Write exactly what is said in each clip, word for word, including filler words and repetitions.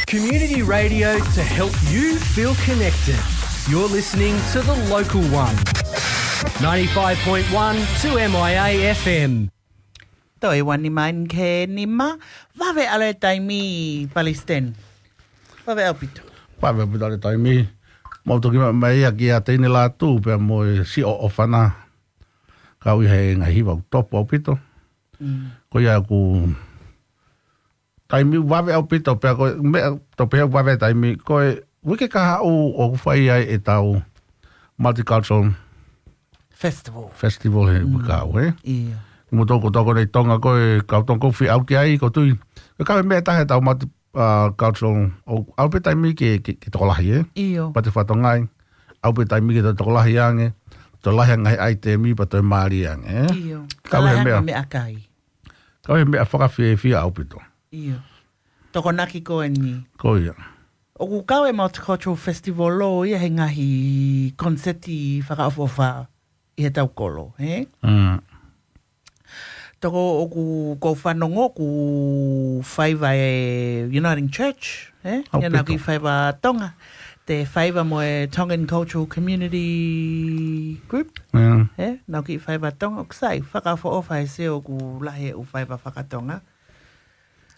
Community radio to help you feel connected. You're listening to The Local One. ninety-five point one two M I A F M. Toe ua nima eni ki he nima, vave ʻalu e taimi, Palesiteni. Vave ʻaupito. Vave ʻaupito ʻalu e taimi. Mau toki mai ia kia Teine Lātū pea mo e siʻo ʻofana. Kau ʻi he ngaahi hiva ʻoku topu ʻaupito. Mm. Ko ia ʻoku taimi vave ʻaupito pea ko e meʻa tau pehē vave taimi ko e uike kahaʻu ʻoku fai ai ʻetau multicultural Festival. Festival he Mm. uike kahaʻu, ē? ʻIo. Mo toko toko nei Tonga ko e kau Tonga ko fie ʻalu ki ai ko tui. Ko e kau e meʻa taha ʻetau multi, uh, cultural ʻoku ʻalu pē taimi ke, ke, ke tokolahi, ē? ʻIo. Pea te fatongai, ʻalu pē taimi ke tokolahi ange, tokolahi ange he ʻaitemi pea toe mālie ange, ē? ʻIo. Kau he Tokolahi ange meʻa. meʻakai. Kau he meʻa fakafiefia ʻaupito. ʻIo. Tokonaki ko eni. Ko ia. ʻOku kau e Multicultural Festival ʻo ia he ngaahi koniseti fakaʻofoʻofa ʻi he tau kolo, hē? Mm. Toko ʻoku kou fanongo ʻoku faiva e Uniting Church, hē? ʻAupito. Ia naʻa ki faiva Tonga. Te faiva mo e Tongan Cultural Community Group. Mm. Hē? Naʻa ki faiva Tonga. ʻOku sai, fakaʻofoʻofa e sio ʻoku lahi e ʻū faiva fakatonga.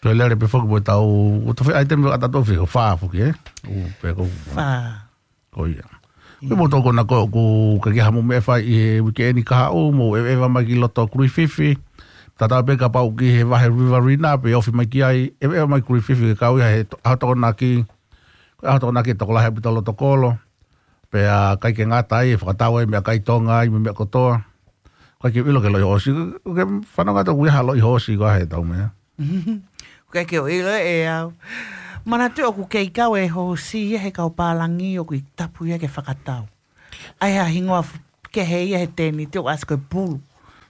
Ko e lele pē foki mo e tau, ko e tofi ʻaitemi ʻa tau tofi, ko fā foki, ē? ʻU, pē ko Fā. Ko ia. Ia. Ko e mo toko na ko, ko ka ke hamu meʻa fai ʻi he uike eni kahaʻu, mo e, e va mai ki loto Kruififi. Tatau pē kapau ki he vahe Riverina, pea ofi mai ki ai, e, e va mai Kruififi, ke kau ia he to-, ʻaho Tokonaki, ko e ʻaho Tokonaki tokolahi ʻaupito loto kolo. Pea ʻikai ke ngata ai, e fakatau ai meʻakai Tonga ai, mo e meʻa kotoa. ʻIkai ke u ʻilo ki he loʻi hoosi, ʻoku ke fanongo atu ʻoku ʻi ai ha loʻi hoosi ko e hā ʻetau meʻa. ʻIkai ke u ʻilo ʻe au. Manatuʻi ʻoku kei kau e hoosi ia he kau pālangi ʻoku ʻi tapu ia ke fakatau. ʻAi ha hingoa f-, kehe ia he tēniti ʻoku ʻasi ko e pulu.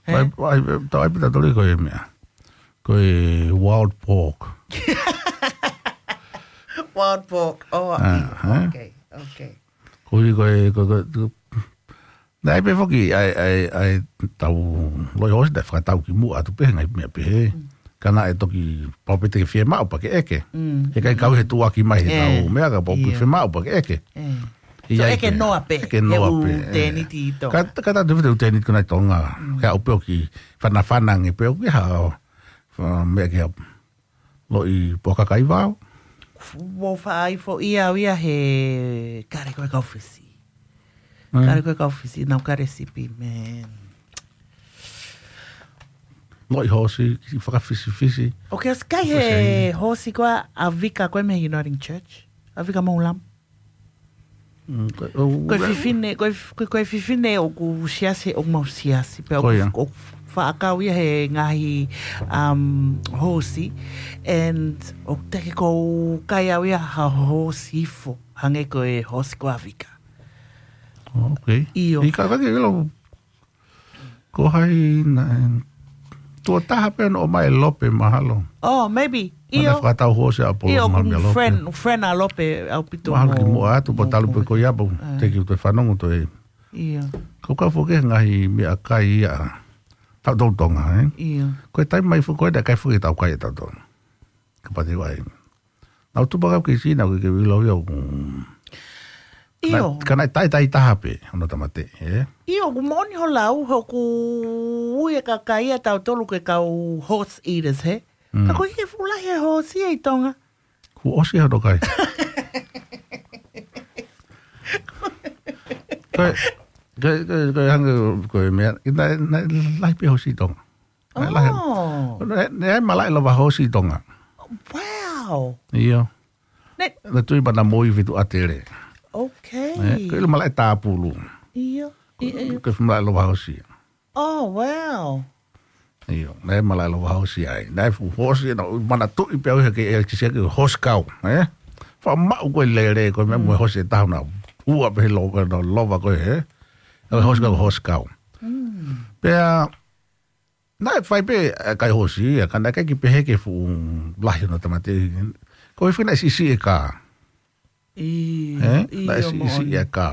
Hē? ʻAi, ʻai, tau ʻai pē tautolu ko e meʻa. Ko e wild pork. Wild pork. Oh, Ah, hē? okay, okay. Ko e, ko e, ko e, ko e, naʻe pē foki, ʻai, ʻai, ʻai, tau, loʻi hoosi naʻe fakatau ki muʻa atu pē, ngaahi meʻa pē hē. Mm. Ka naʻe toki pau pē te ke fiemaʻu pea ke ʻeke. Mm. He ʻikai kau he tuʻuaki mai he Ē. tau, meʻa ka pau pē Ia. fiemaʻu pea ke ʻeke. Ē. ʻI So ai ʻeke pē. noa pē, ʻEke he noa ʻū pē, ē. tēniti ʻi Tonga. Ka, ka tau te fitu tēniti ko nai Tonga. Mm. Ke au pē ʻoku fanafana ange pē ʻoku ʻi ai ha, ha, meʻa ke ha loʻi puaka kaivao. Vo faʻa ifo ia au ia he kare ko e kau Fisi. Mm. Kare ko e kau Fisi, nau kare sipi, man. Loʻi hoosi, ki fakafisifisi. ʻOku ke ʻosi kai he Fisi. hoosi ko ē ʻa Vika ko ē mei he Uniting Church. ʻA Vika Moulam. Mm, ko, ʻo, Ko e ʻo, fefine, ko e f-, ko e, ko e fefine ʻoku siasi, ʻoku mau siasi. Pea Ko ʻoku, ia. ʻoku faʻa kau ia he ngaahi, um, hoosi. And ʻoku teʻeki ke u kai au ia ha hoosi ifo. Hangē ko e hoosi ko ē ʻa Vika. Oh, okay. ʻIo. ʻIkai ke u ʻilo Ko hai na, tuʻo taha pē naʻe ʻomai ʻe Lope mahalo. Oh, maybe. Mana ʻIo. fakatau hoosi ʻa Polo ʻIo, Mahalo ʻoku Lope. friend, friend ʻa Lope ʻaupito Mahalo mo, ki muʻa atu, pea mo talu pē Polo. ko ia pea Eh. teki te fanongo toe. ʻIo. Ko ka foki he ngaahi meʻakai ia. Tautolu Tonga, eh? ʻIo. Ko e taimi mai foki ko ē, naʻe ʻikai foki tau kai ʻe tautolu. Ka pati wai. Nau tupa kau ki Sina, ke ke wilo ia ʻoku. ʻIo. Na, ka naʻe tai tai taha pē, hono tamate, eh? ʻIo, ʻoku moʻoni ho lau, ʻoku ui e kakai ʻa tautolu ke kau horse eaters, he? Mm. Ka ko e ke fula he horse ia ʻi Tonga. Ku osi hono kai. Ko e, ko e, ko e, ko e hangē, ko e meʻa, naʻe, naʻe lahi pē hoosi ʻi Tonga. Naʻe lahi. Oh. Naʻe, naʻe malaʻe lava hoosi ʻi Tonga. Wow. ʻIo. Ne- Naʻe tui pana moi fitu ʻatele. Okay. Eh, ko e ʻilo malaʻe tāpulu. ʻIo. ʻIo, ʻio. Ko e ʻilo malaʻe lava hoosi. Oh, wow. ʻIo, naʻe malaʻe lava hoosi ai. Naʻe fuʻu hoosi, naʻa ku manatuʻi pē au he ke e kisia ke hoosi kau, eh? Faʻa maʻu ko e lele, ko e meʻa mo e Mm. hoosi ʻe taha naʻe ua pē he lo-, ko e lova ko e, eh? Ko e hoosi kau, Mm. hoosi kau. Mm. Pea, naʻe fai pē, eh, kai hoosi, ia, ka naʻe ʻikai ke pehē ke fuʻu lahi hono tamate. Ko e fina ʻe siʻisiʻi e kā. ʻIo, Eh? Naʻe ʻio, siʻisiʻi moʻoni. e kā.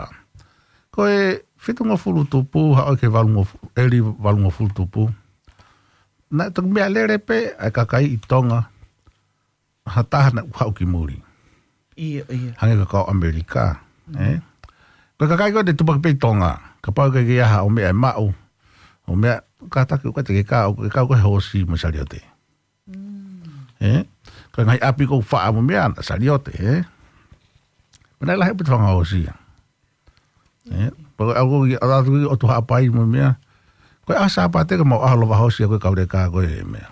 Ko e fitungofulu tupu, haʻu ki he valungofulu, ʻeli valungofulu tupu. Naʻe toki meʻalele pē, ʻa e kakai ʻi Tonga. ha taha naʻa ku haʻu ki muli. ʻIo, ʻio. Hangē ko e kau ʻAmelika, ē? Ko e kakai ko ē te tupaki pē ʻi Tonga. Kapau ʻoku ʻikai ke ʻi ai haʻo meʻa ʻe maʻu, ʻo meʻa, kātaki ʻoku ʻikai te ke kau, ke kau ko e hoosi mo e saliote. Ē? Ko e ngaahi ʻapi ʻoku faʻa mo e meʻa, saliote, ē? Pea naʻe lahi ʻaupito fanga hoosi ia. Ē? Pea ko e ʻalu ko ē ki, ʻalu atu ki ʻOtu Haʻapai mo e meʻa. Ko e ʻaho Sāpate ko e mau ʻaho lova hoosi ia ko e kau leka ko e meʻa.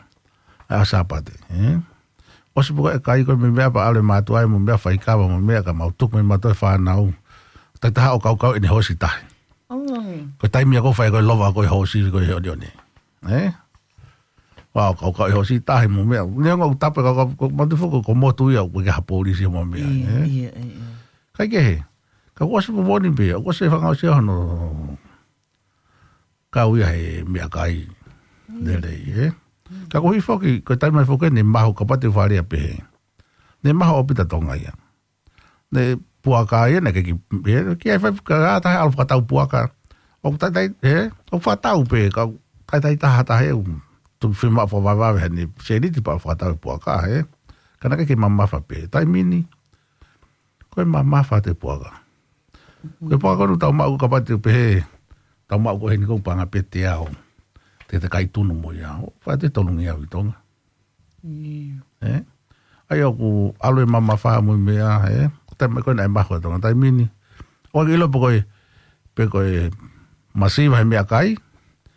ʻAho Sāpate, ē? ʻOsi pē ko e kai ko e meʻa pea ʻalu e mātuʻa mo e meʻa faikava mo e meʻa ka mau tuku mo e mātuʻa e fānau. Taʻetaha ʻo kaukau ʻene hoosi tahi. Ko e taimi ia ʻoku fai ko e lova ko e hoosi ko e ʻoniʻoni. Ē? Wow, kau kau e hoosi tahi mo e meʻa. Neongo ʻoku tapu ka kau, kau matu foki ko e motu ia ʻoku ʻikai ha polisi mo e meʻa, ʻIo, ē? ʻIo, ʻio, ʻio. Kae kehe, ka kuo ʻosi pē voni pē, kuo ʻosi e fanga hoosi hono kau ia he meʻakai lelei, ē? Ka ko e hā foki, ko e taimi foki ne mahu kapau te u fālea pehē. Ne mahu ʻaupito Tonga ia. Ne puaka ia, ne ke ki, ē, ki ai fai ka ʻatā he ʻalu fakatau puaka. ʻOku taitai, ē, ʻoku fakatau pē, ka taitai taha taha ē, ʻoku tuku fiemaʻu fakavavevave heni, sēniti pea fakatau e puaka, ē. Ka naʻe ʻikai ke mamafa pē, taimi ni, ko e mamafa atu e puaka. Ko e puaka ko ē ʻoku tau maʻu kapau te u pehē, tau maʻu ko ē heni ko e paʻanga pē ʻe teau. Te te kai tunu mo ia, ʻo, fai atu e tolungeau ʻi Tonga. ʻIo. Ē? ʻA ia ʻoku ʻalu e mamafa mo e meʻa, ē? Ko e taimi ko ē naʻe mahu ʻa Tonga taimi ni. ʻOku ʻikai ke ʻilo pe ko e, pe ko e masiva he meʻakai.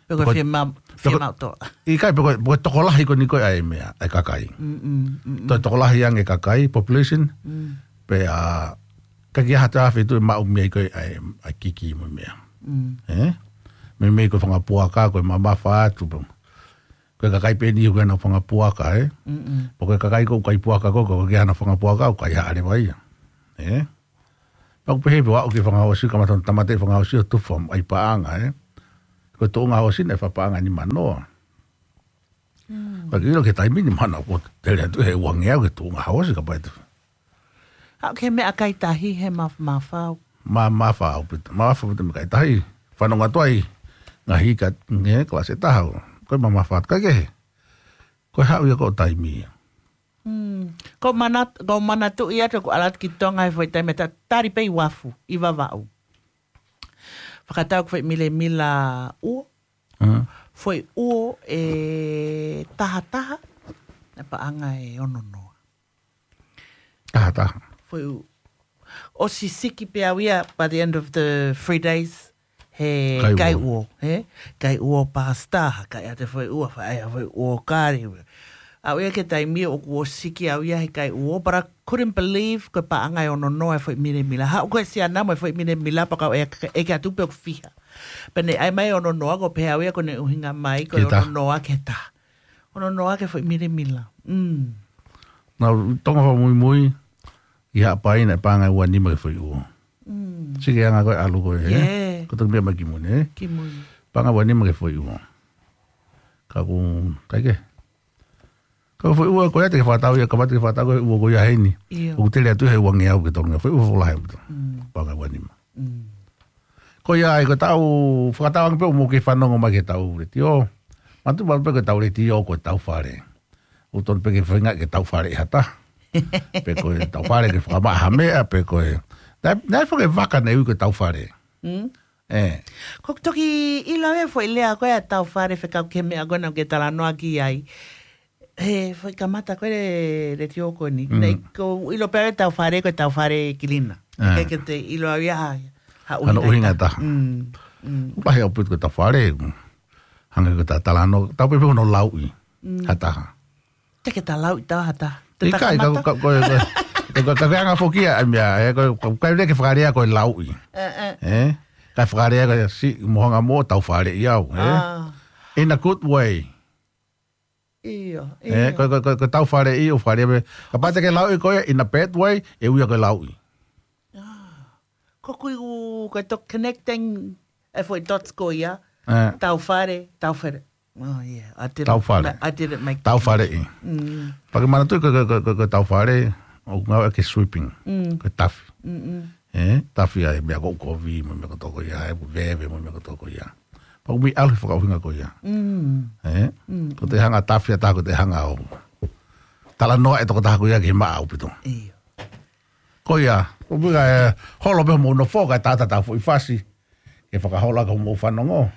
Pe ko e pe ko e, fiema-, pe ko e, fiemaʻu toʻa. ʻIkai, pe ko e, pe ko e tokolahi ko eni ko ē ʻa e meʻa, ʻa e kakai. Mm, mm, mm, mm. Toe tokolahi ange kakai, population. Mm. Pea, ʻikai ke ʻi ai ha toe ʻaho ʻe fitu ʻe maʻu mei ai ko ē ʻa e, ʻa e kiki mo e meʻa. Mm. Ē? Meimei ko e fanga puaka, ko e mamafa atu, pe ko e kakai pē eni ʻoku ʻi ai hona fanga puaka, ē? Mm-mm. Pe ko e kakai ʻoku kai puaka ko ē, ʻoku ʻikai ke ʻi ai hona fanga puaka, ʻoku kai haʻa leva ia. Ē? Pea ʻoku pehē pē ʻoku aʻu ki he fanga hoosi, kamata hono tāmateʻi e fanga hoosi ʻo tufa ai paʻanga, ē? Ko e tuʻunga hoosi naʻe fakapaʻanga ʻe nimanoa. Mm. Pea ke ʻilo ki he taimi ni mahalo kuo tele atu he uangeau ki he tuʻunga hoosi kapau ʻe tufa. Aʻu ki he meʻakai tahi he maf-, mafao. Ma, mamafa ʻaupito, mamafa ʻaupito e meʻakai tahi. Fanongo atu ai, ngaahi ka, ngaahi kalasi ʻe taha. Ko e mamafa atu kae kehe. Ko e haʻu ia ko e taimi ia. Mm. Ko e manat-, ko e manatuʻi atu ʻeku ʻalu atu ki Tonga he foʻi taimi ta-, tali pē ʻi Uafu, ʻi Vavaʻu. Fakatau ko e foʻi milemila ʻuo. Mm. Foʻi ʻuo ʻe taha taha. Naʻe paʻanga ʻe ono noa. Taha taha. Foʻi ʻuo. ʻOsi siki pē au ia by the end of the three days. He kai ʻuo. Kai ʻuo, he? Kai ʻuo pasta, kai ʻa e foʻi ʻuo, fai ʻa e foʻi ʻuo kari. Aʻu ia ki he taimi ʻoku ʻosi siki au ia he kai ʻuo, but I couldn't believe ko e paʻanga ʻe ono noa e foʻi milemila. Haʻu ko e siana mo e foʻi milemila pea kau ʻeke, ʻeke atu pe ʻoku fiha. Pea ne ʻai mai ʻe ono noa, ko e pehē au ia ko ʻene ʻuhinga mai, ko e ono noa ki he taha. Ono noa ki he foʻi milemila. Mm. Naʻa ku ʻi Tonga fakamuimui, ʻi Haʻapai naʻe paʻanga ʻe ua nima ki he foʻi ʻuo. Mm. Siki ange ko e ʻalu ko ē, ē? Yeah. Ko e toki meʻa mai ki mui, ē? Ki mui. Paʻanga ʻe ua nima ki he foʻi ʻuo. Ka ʻoku, kae kehe. Ka ko e foʻi ʻuo ko ia te ke fakatau ia, kapau te ke fakatau ko e ʻuo ko ia heni. ʻIo. ʻOku tele atu he uangeau ki he tolungeau, foʻi ʻuo fakalahi ʻaupito. Mm. Paʻanga ʻe ua nima. Mm. Ko ia ai, ko e taʻu, fakatau ange pē ʻoku mou kei fanongo mai ki he taʻu letiō. Manatuʻi maʻu pē ko e taʻu letiō, ko e taʻu fale. ʻOku totonu pē ke feinga ke taʻu fale ʻe ha taha. Pe ko e taʻu fale ke fakamaʻa ha meʻa, pe ko e. Naʻe, naʻe fai e vaka naʻe ui ko e taʻu fale. Mm. Ē. Ko e toki ʻilo ʻe foʻi lea ko ē ʻa e taʻu fale fekau ki he meʻa ko ena ʻoku ke talanoa ki ai. He foʻi kamata ko ē le, letiō ko eni. Mm. Naʻe ʻikai ke u ʻilo pē ʻe au e taʻu fale ko e taʻu fale kilina. Ē. ʻIkai ke te ʻilo au ia ha, ha ʻuhinga ʻe taha. Hano ʻuhinga ʻe taha. Mm, mm. ʻOku lahi ʻaupito ko e taʻu fale. Hangē ko e taʻu talanoa, taʻu pē pē hono lauʻi. Mm. Ha taha. Te ke talanoaʻi taha ha taha. Te ʻikai, ka, takamata. Ka, ko, ko, ko, ko, ka, ka anga foki ia, ʻa e meʻa, ē, ko, ko, ka lele ke fakalea ko e lauʻi. Ē, ē. Ē? Ka fakalea ko e si, mo hanga mo taʻu faleʻi au, ē? Ah. In a good way. ʻIo, ē, ʻio. Ko, ko, ko, ko e taʻu faleʻi ʻo fakalea pē. Kapau te ke lauʻi ko ē in a bad way, ʻe ui ia ko e lauʻi. Ah. Ko kui u, ko e toki connecting e foʻi dots ko ia. Ē. Taʻu fale, taʻu fale. Oh, yeah. I didn't Taʻu fale. ma-, I didn't make Taʻu faleʻi. Mm. Pea ke manatuʻi ko, ko, ko, ko, ko e taʻu fale, ʻoku ngāueʻaki e sweeping. Mm. Ko e tafi. Mm, mm. Ē, tafi ai meʻa ko ē ʻoku kovi, mo e meʻa kotoa ko ia, ē, veve, mo e meʻa kotoa ko ia. Pea ʻoku mei ʻalu he fakaʻuhinga ko ia. Mm. Ē? Mm, Ko te mm. hanga tafi ʻa taha, ko te hanga ʻo talanoa e tokotaha ko ia ki he maʻa ʻaupito. ʻIo. Ko ia, ʻoku pika e holo pē hoʻomou nofo kae tātā ʻetau foʻi fasi ke fakaholo ʻaki hoʻomou fanongo.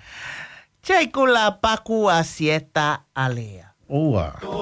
Jay Kula Paku a Sieta Alea. ʻOua.